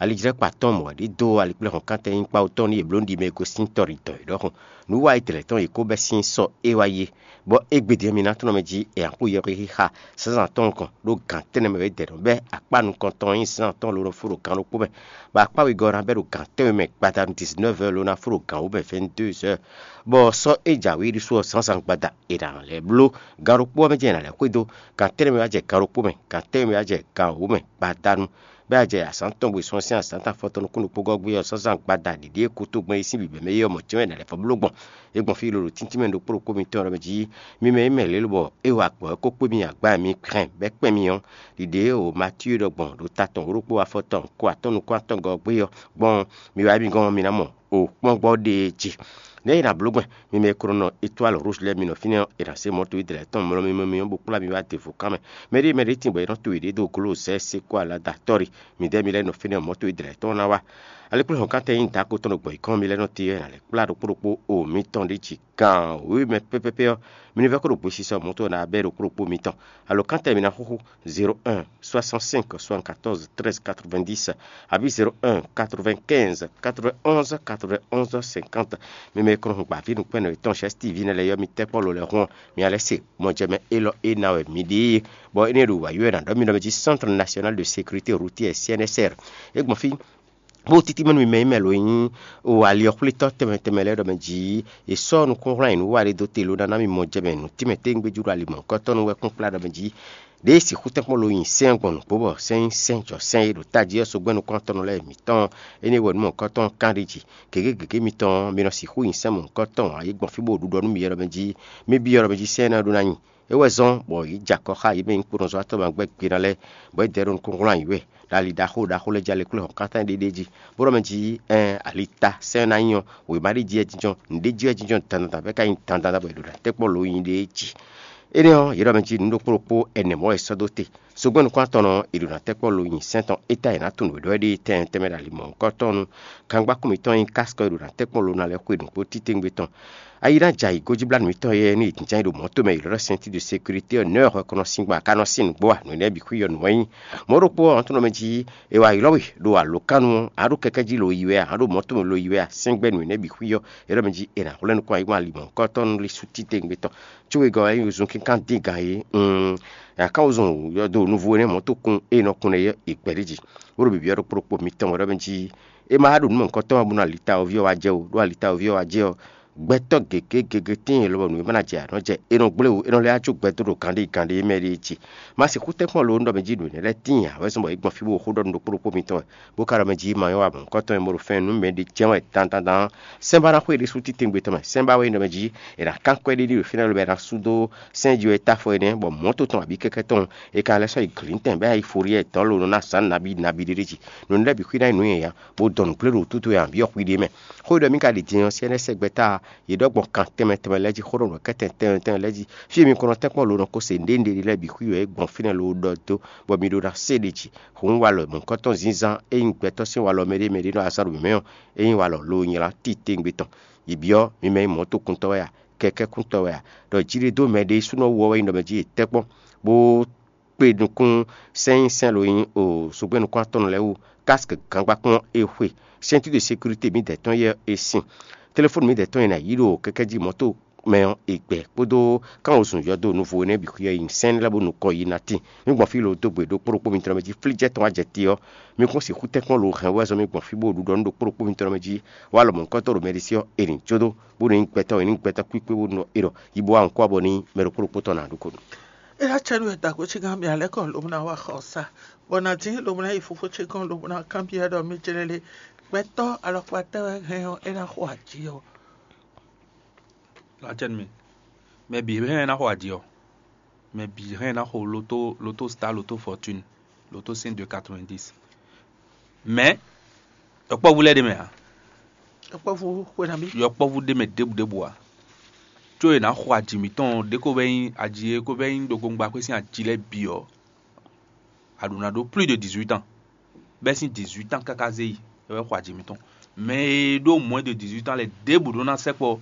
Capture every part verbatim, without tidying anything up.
alijlɛ́kpa tɔn mɔ̌ ɖi dó alikplɛ́hɔn kántɛn nyí kpawú tɔn nú yě bló nú ɖi mɛ e gosín tɔ ɖi dɔ̌ é ɖɔhun. Nǔ wa e dlɛ̌ tɔn yě kó bɛ́ sín sɔ é wá yi, bɔ égbedě ɔ́, mi ná tlɔ́n mɛ jí è nǎ kpó yɛhwexixa zǎnzǎn tɔn nukɔn ɖó gǎn tɛ́nnɛ mɛ wědɛɛ nɔ bɛ́ akpá nukɔntɔn e nyí zǎnzǎn tɔn lo nɔ fó ɖo gan ɖokpó mɛ, bɔ akpá wegɔ́ ɔ́ ná bɛ́ ɖo gǎn tɛ́nwe mɛ gbadanu dix-neuf heures lo ná fó ɖo gan wǒ mɛ vingt-deux heures, bɔ sɔ́ e jǎwe ɖésú ɔ́ zǎnzǎn gbada è nǎ lɛ́ bló. Gan ɖokpó ɔ́ mɛ jɛ́n è nǎ lɛ́ xwedó, gan tɛ́nnɛ mɛ wá jɛ gan ɖokpó mɛ, gan tɛ́nwe mɛ wá jɛ gan wǒ mɛ gbadanu. Bɛ́ a jɛ azǎn tɔn gbe sɔ́ sín azǎn tɔn afɔtɔn nukún ɖokpó gɔ́ gbé ɔ́, zǎnzǎn gbada ɖěɖě e kútógbɛ́n é sín bǐbɛ́ mɛ é ɔ́ mɔ̌ jɛ́n wɛ è nǎ lɛ́ vɔ́ bló gbɔn. É gbɔn fí lolo tíntín mɛ ɖokpó ɖokpó mitɔn ɔ́ mɛ jí, mi mɛ e mɛ lě lobɔ é wa gbɔ̌ ɔ́ kó kpé mi agba mi hɛn bɛ́ kpɛ́n mi ɔ́, ɖiɖě e Matíu ɖɔ gbɔn ɖo ta tɔn wǒ ɖokpó afɔtɔn ko atɔ́ɔ́n nukún atɔngɔ́ ɔ́ gbé ɔ́ gbɔn, mi wá mi gɔ́n mi ná mɔ o kpɔ́n gbɔ ɖe jí. Nɛ̌ è nǎ bló gbɛn? Mi mɛ e ko nɔ nɔ étoile rouge lɛ́ɛ mi nɔ fínɛ́ ɔ́, è nǎ se mɔ̌ towe dlɛ̌ tɔn mlɔ́ mi mɔ mi ɔ́ bó kplá mi wá devo kán mɛ. Mɛ ɖé mɛ ɖé tíin bɔ è nɔ to yěɖée dó glozɛ́ se kó alada tɔ́ ɖi. Midɛɛ mi lɛ́ɛ nɔ fínɛ́ ɔ́, mɔ̌ towe dlɛ̌ tɔn ná wá. Alekplé hɔn kántɛn nyí dǎ ko tɔn ɖo gbɔ̌ yí kɔn mi lɛ́ɛ nɔ te ɔ́, è nǎ lɛ́ kplá ɖokpó ɖokpó o mitɔn ɖé jí. Gan wěwe mɛ pɛ́pɛ́pɛ́ ɔ́, mi ní vɛ́ kó ɖo gbesisɔ mɔ̌ towe ná bɛ́ ɖokpó ɖokpó mitɔn. Alɔkántɛ mi ná xúxú zéro un soixante-cinq soixante-quatorze treize quatre-vingt-dix, abǐ zéro un quatre-vingt-quinze quatre-vingt-onze quatre-vingt-onze cinquante. Mi mɛ e kɔn hun gbǎví nukpɛ́nɔ yětɔn Chɛ́sí T V nɛ́ lɛ́ɛ ɔ́, mi tɛ́ kpɔ́ lo lɛ́ɛ hun ɔ́, mi ná lɛ́ se mɔjɛmɛ élɔ́ e ná wɛ mi ɖe é, bɔ énɛ́ ɖo wǎ ywɛ́ ná ɖɔ mì ɖɔ mɛ jí Centre National de Sécurité Routière, C N S R. É gbɔn fí bó títí mɛ nú mi mɛ e mɛ lo nyí o ali ɔ́ xwlétɔ́ tɛnmɛ tɛnmɛ lɛ́ɛ ɖɔ mɛ jí è sɔ́ nukúnhlán e nǔ wa ɖé dó te lo ná ná mi mɔ jɛ mɛ nǔ tínmɛ téŋgbéjú ɖo ali mɔ̌hunkɔtɔn nu wɛ kpɔ́n kplá ɖɔ mɛ jí ɖěe sixú tɛ́nkpɔ́n lo nyi sɛ́n gbɔn nǔgbó bɔ sɛ́n nyí sɛ́n jɔ sɛ́n e ɖo tají ɔ́ sogbɛ́ nukúntɔ́nnɔ lɛ́ɛ mǐtɔn ɔ́, énɛ́ wɛ nǔ mɔ̌hunkɔtɔn kán ɖ'é jí. Gěgé gěgé mitɔn ɔ́, mi nɔ sixú nyi sɛ́n mɔ̌hunkɔtɔn ǎ, yě gbɔn fí bó ɖu ɖɔ nú mi ɖɔ mɛ jí mì byɔ́ ɖɔ mɛ jí sɛ́n énɛ́ ɔ́ ɖó ná nyi. É wɛ zɔ́n bɔ yě jɛ akɔ xá yě mɛ nyí kpónɔzɔ́watɔ́ ma gbɛ́ gbe ná lɛ́ɛ, bɔ é dɛ ɖó nukúnhlún ayǐ wɛ, ɖo ali ɖaxó ɖaxó lɛ́ɛ jí alekplé hɔn kántá ɖéɖé jí, bó ɖɔ mɛ jí ɛn ali ta sɛ́n ná nyí ɔ́, wěma ɖé jí wɛ jínjɔ́n, nǔɖé jí wɛ jínjɔ́n dandan bɔ é ka nyí dandan bɔ è ɖo ɖo atɛ́kpɔ́ lo nyi ɖé jí. Énɛ́ ɔ́, yě ɖɔ mɛ jí nǔ ɖokpó ɖokpó ɛnɛ mɔ̌ wɛ è sɔ́ dó te. Zogbɛ́n nukúntɔ́nnɔ ɔ́, è ɖo ná tɛ́kpɔ́ lo nyi sɛ́n tɔn é ta è nǎ tunwun wěɖɔ́ ɖé tɛnmɛ tɛnmɛ ɖo ali mɔ̌hunkɔtɔn nu. Kangba kún mǐtɔn nyí kásikɔ e ɖo ná tɛ́kpɔ́ lo ná lɛ́ xwe nǔgbó títewungbe tɔn. Ayi ná jɛ ayǐgójíblánú mǐtɔn yɛ ní è jínján ɖo mɔ̌ tomɛ è ɖɔ ɖɔ sɛnti de sécurité ɔ́, nɛ̌ wɛ hwɛ ko nɔ sín gbɔ a ka nɔ sín nǔgbó a? Nǔ énɛ́ bǐ xwí ɔ́ nǔ wɛ nyí. Mɔ̌ ɖokpó ɔ́, ɔ́ tɔn mɛ jí è wa ylɔ́ we ɖo alǒkánu ɔ́, a ɖo kɛkɛ́ jí lo yi wɛ a, a ɖo mɔ̌ tomɛ lo yi wɛ a, sɛ́ngbɛ́ nǔ énɛ́ bǐ xwí ɔ́, è ɖɔ mɛ jí è nǎ hwlɛ́n nukún ayǐkún ali mɔ̌hunkɔtɔn lí sú títewungbe tɔn. Có wegɔ́ wɛ nyí zun kínkán dín gǎn é. Aká wozun yɔdo nuvo énɛ́ mɔ̌ tó kún e nɔ kun nɛ́ é gbɛ̌ ɖ'é jí, bó ɖo bǐbí ɔ́ ɖokpó ɖokpó mitɔn wɛ ɖɔ mɛ jí é ma ɖo nǔ mɔ̌hunkɔtɔn ɔ́ bónú alita ɔ́ ví ɔ́ wá jɛ ó, ɖó alita ɔ́ ví ɔ́ wá jɛ ɔ́, gbɛtɔ́ gěgé gěgé tíin lɔbɔ nǔ e ma ná jɛ ǎ nɔ jɛ, è nɔ gblé wǔ, è nɔ lɛ́ wá jó gbɛ dó ɖo gǎnɖé gǎnɖé mɛ ɖé jí. Má sixú tɛ́nkpɔ́n lo nú ɖɔ mɛ jí nǔ énɛ́ lɛ́ɛ tíin ǎ, wɛ zɔ́n bɔ é gbɔn fí bó xó ɖɔ nú ɖokpó ɖokpó mitɔn wɛ, bó ka ɖɔ mɛ jí ma nyɔ́ wa mɔ̌hunkɔtɔn e mo ɖo fɛ́n nú mɛ ɖé jɛ́n wɛ dandandan. Sɛ́nbá ná xwé ɖésú títewungbe tɔn mɛ, sɛ́nbá wɛ nyí ɖɔ mɛ jí è nǎ kán kwɛ́ ɖé ɖi ɖo fínɛ́ lobɔ è nǎ sú dó sɛ́n jí wɛ é tá afɔ énɛ́, bɔ mɔ̌ to tɔn abǐ kɛkɛ́ tɔn e ka lɛ́ sɔ́ yi glǐntɛn bɔ é ná yi Foryɛ́ɛ dɔ̌n lo nɔ ná zǎn nabí nabí ɖé ɖé jí. Nǔ énɛ́ lɛ́ɛ bǐ xwí ná nyí nǔ nyanya, bó dɔn nǔgbléɖo wútu towe ǎ, byɔ́ xwi ɖé mɛ. Xó e ɖɔ mì ka ɖi din ɔ́, C N S gbɛ́ta yě ɖɔ gbɔn kan tɛnmɛ tɛnmɛ lɛ́ɛ jí, xó ɖɔ nǔ kɛ́tɛn tɛnmɛ tɛnmɛ lɛ́ɛ jí. Fí e mi ko nɔ tɛ́nkpɔ́n lo nɔ ko se nǔɖé nǔɖé lɛ́ɛ bǐ xwí wɛ é gbɔn fínɛ́ lo ɖɔ dó, bɔ mi ɖó ná se ɖě jí. Hǔn walɔ mɔ̌hunkɔtɔn zínzán e nyí gbɛtɔ́ sín walɔ mɛ ɖé mɛ ɖé nɔ azán ɖo mǐmɛ́ ɔ́, é nyí walɔ lo nylá titewungbe tɔn. Yi byɔ́ mi mɛ nyí mɔ̌tokuntɔ́ wɛ a, kɛkɛ́kuntɔ́ wɛ a, ɖɔ jí ɖé dó mɛ ɖé súnɔ wú ɔ́ wɛ nyí ɖɔ mɛ jí è tɛ́ kpɔ́n, bó kpe nukún sɛ́n nyí sɛ́n lo nyí o zogbɛ́n nukún atɔn lɛ́ɛ wú, kásk gangba kplɔ́n e xwe, ceinture de sécurité mǐdɛɛ tɔn yɛ e sin, telefóni mǐdɛɛ tɔn e nǎ yí ɖo kɛkɛ́ jí mɔ̌to mɛ ɔ́, è gbɛ kpódó kánwozun yɔdo nuvo énɛ́ bǐ xwí ɔ́ yi sɛ́n lɛ́ɛ bó nukɔn yi ná tíin. Mì gbɔn fí lo dó gbe ɖokpó ɖokpó mitɔn mɛ jí flíjɛ́ tɔn wá jɛ te ɔ́, mi kún sixú tɛ́nkpɔ́n lo hɛn wɛ zɔn mì gbɔn fí bó ɖu ɖɔ nú ɖokpó ɖokpó mitɔn mɛ jí, wá lɔ mɔ̌hunkɔtɔn ɖo mɛ ɖé sí ɔ́, è nǐ jó dó, bó nɔ nyí gbɛtɔ́, è nǐ gbɛtɔ́ kpíkpé bó nɔ é ɖɔ yi bó wá nukún abɔ ní mɛ ɖokpó ɖokpó tɔn ná ɖu kó nú. É ná cɛ nú wɛ dǎgbó ce gán mì alɛ́ kɔ lobɔ ná wa xɔ sa, bɔ nǎ dín lobɔ ná yi fofó ce gɔ́n lobɔ ná kanbyɔ́ ɖɔ mɛ jlɛ́ lé, gbɛtɔ́ alɔkpa tɛ́ wɛ hɛn ɔ́, é ná xo aji ɔ́? Lacɛn mi, mɛ bǐ hɛn ná xo aji ɔ́, mɛ bǐ hɛn ná xo loto loto star loto fortune, loto cent de quatre-vingt-dix. Mɛ yɔkpɔ́vú lɛ́ɛ ɖe mɛ ǎ. Yɔkpɔ́vú xwe nabí? Yɔkpɔ́vú ɖe mɛ ɖěbǔ ɖěbǔ ǎ. Có è nǎ xo aji mǐtɔn ɖě ko vɛ́ nyí aji e ko vɛ́ nyí ɖokpóŋgba xwé sín aji lɛ́ɛ bǐ ɔ́, a ɖǒ ná ɖó plus de dix-huit ans, bɛ́ sín dix-huit ans káká zé yi, é wɛ xo aji mǐtɔn. Mɛ e ɖó moins de dix-huit ans lɛ́ɛ ɖěbǔ ɖó ná sɛkpɔ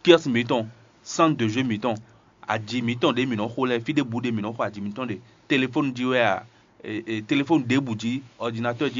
kiɔ́si mǐtɔn, centre de jeu mǐtɔn, aji mǐtɔn ɖě mǐ nɔ xo lɛ́ɛ, fí ɖěbǔ ɖě mǐ nɔ xo aji mǐtɔn ɖe, telefóni jí wɛ a, e, e, telefóni ɖěbǔ jí, ɔdinatɔ́ jí,